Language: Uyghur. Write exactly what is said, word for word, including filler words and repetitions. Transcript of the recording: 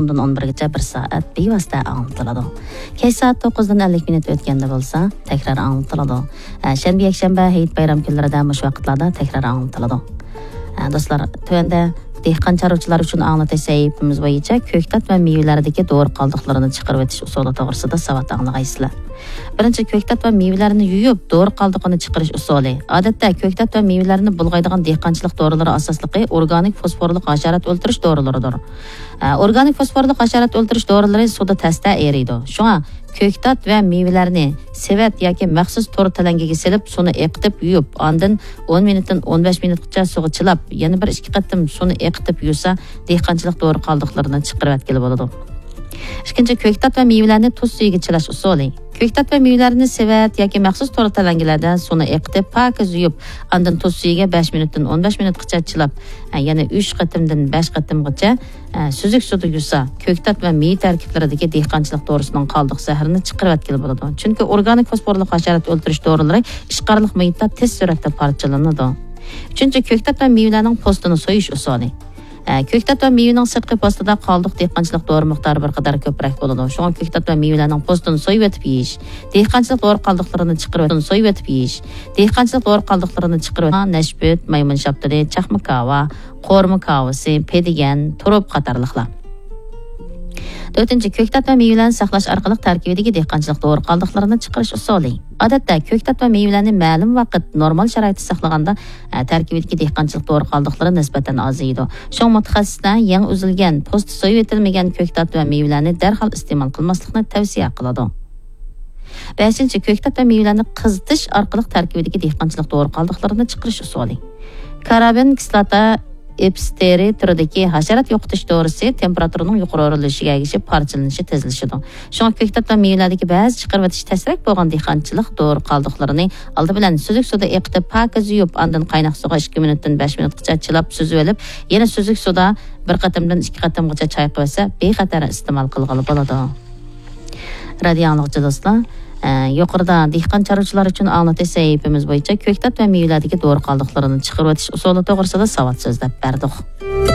ئوندىن ئون بىرگىچە بىر سائەت بىۋاسىتە ئاڭلىتىلىدۇ. كەچ سائەت توققۇزدىن ئەللىك مىنۇت ئۆتكەندە بولسا تەكرار ئاڭلىتىلىدۇ. ئە، شەنبە، يەكشەنبە، ھېيت، بايرام كۈنلىرىدە مۇشۇ ۋاقىتلاردا تەكرار ئاڭلىتىلىدۇ. ئە، دوستلار، تۆۋەندە دېھقان چارۋىچىلار ئۈچۈن ئاڭلىتىش سەھىپىمىز بويىچە كۆكتات ۋە مېۋىلەردىكى دورا قالدۇقلىرىنى چىقىرىۋېتىش ئۇسۇلى توغرىسىدا ساۋات ئاڭلىغايسىلەر. بىرىنچى، كۆكتات ۋە مېۋىلەرنى يۇيۇپ، دورا قالدۇقىنى چىقىرىش ئۇسۇلى. ئادەتتە كۆكتات ۋە مېۋىلەرنى بۇلغايدىغان دېھقانچىلىق دورىلىرى ئاساسلىقى ئورگانىك فوسفورلۇق ھاشارات ئۆلتۈرۈش دورىلىرىدۇر. ئە، ئورگانىك فوسفورلۇق ھاشارات ئۆلتۈرۈش دورىلىرى سۇدا تەستە ئېرىيدۇ. شۇڭا كۆكتات ۋە مېۋىلەرنى سېۋەت ياكى مەخسۇس تور تەلەڭگىگە سېلىپ، سۇنى ئېقىتىپ يۇيۇپ، ئاندىن ئون مىنۇتتىن ئون بەش مىنۇتقىچە سۇغا چىلاپ، يەنە بىر ئىككى قېتىم سۇنى ئېقىتىپ يۇسا، دېھقانچىلىق دورا قالدۇقلىرىنى چىقىرىۋەتكىلى بولىدۇ. ئىككىنچى، كۆكتات ۋە مېۋىلەرنى تۇز سۈيىگە چىلاش ئۇسۇلى. كۆكتات ۋە مېۋىلەرنى سېۋەت ياكى مەخسۇس تور تەلەڭگىلەردە سۇنى ئېقىتىپ، پاكىز يۇيۇپ، ئاندىن تۇز سۈيىگە بەش مىنۇتتىن ئون بەش مىنۇتقىچە چىلاپ، ئە، يەنە ئۈچ قېتىمدىن بەش قېتىمغىچە، ئە، سۈزۈك سۇدا يۇسا، كۆكتات ۋە مېۋە تەركىبلىرىدىكى دېھقانچىلىق دورىسىنىڭ قالدۇق زەھىرىنى چىقىرىۋەتكىلى بولىدۇ. چۈنكى ئورگانىك فوسفورلۇق ھاشارات ئۆلتۈرۈش دورىلىرى ئىشقارلىق مۇھىتتا تېز سۈرئەتتە پارچىلىنىدۇ. ئۈچىنچى، كۆكتات ۋە مېۋىلەرنىڭ پوستىنى سويۇش ئۇسۇلى. ئە، كۆكتات ۋە مېۋىنىڭ سىرتقى پوستىدا قالدۇق دېھقانچىلىق دورا مىقدارى بىر قەدەر كۆپرەك بولىدۇ. شۇڭا كۆكتات ۋە مېۋىلەرنىڭ پوستىنى سويۇۋېتىپ يېيىش، دېھقانچىلىق دورا قالدۇقلىرىنى چىقىرىۋېتىپ، سويۇۋېتىپ يېيىش، دېھقانچىلىق دورا قالدۇقلىرىنى چىقىرىۋېتىش، نەشپۈت، مايمۇن شاپتۇلى، چاقما كاۋا، قورۇما كاۋىسى، پېدىگەن، تۇرۇپ قاتارلىقلار. تۆتىنچى، كۆكتات ۋە مېۋىلەرنى ساقلاش ئارقىلىق تەركىبىدىكى دېھقانچىلىق دورا قالدۇقلىرىنى چىقىرىش ئۇسۇلى. ئادەتتە كۆكتات ۋە مېۋىلەرنى مەلۇم ۋاقىت نورمال شارائىتتا ساقلىغاندا، ئە، تەركىبىدىكى دېھقانچىلىق دورا قالدۇقلىرى نىسبەتەن ئازىيىدۇ. شۇڭا مۇتەخەسسىسلەر يېڭى ئۈزۈلگەن، پوستى سويۇۋېتىلمىگەن كۆكتات ۋە مېۋىلەرنى دەرھال ئىستېمال قىلماسلىقنى تەۋسىيە قىلىدۇ. بەشىنچى، كۆكتات ۋە مېۋىلەرنى قىزىتىش ئارقىلىق تەركىبىدىكى دېھقانچىلىق دورا قالدۇقلىرىنى چىقىرىش ئۇسۇلى. كارابىن كىسلاتا ئېپستېرى تۈرىدىكى ھاشارات يوقىتىش دورىسى تېمپېراتۇرىنىڭ يۇقىرى ئۆرلىشىگە ئەگىشىپ پارچىلىنىشى تېزلىشىدۇ. شۇڭا كۆكتات ۋە مېۋىلەردىكى بەزى چىقىرىۋېتىش تەسرەك بولغان دېھقانچىلىق دورا قالدۇقلىرىنى ئالدى بىلەن سۈزۈك سۇدا ئېقىتىپ، پاكىز يۇيۇپ، ئاندىن قايناق سۇغا ئىككى مىنۇتتىن بەش مىنۇتقىچە چىلاپ سۈزۈۋېلىپ، يەنە سۈزۈك سۇدا بىر قېتىمدىن ئىككى قېتىمغىچە چايقىۋەتسە، بىخەتەر ئىستېمال قىلغىلى بولىدۇ. رادىئو ئاڭلىغۇچى دوستلار، ئە، يۇقىرىدا دېھقان چارۋىچىلار ئۈچۈن ئاڭلىتىش سەھىپىمىز بويىچە كۆكتات ۋە مېۋىلەردىكى دورا قالدۇقلىرىنى چىقىرىۋېتىش ئۇسۇلى توغرىسىدا ساۋات سۆزلەپ بەردۇق.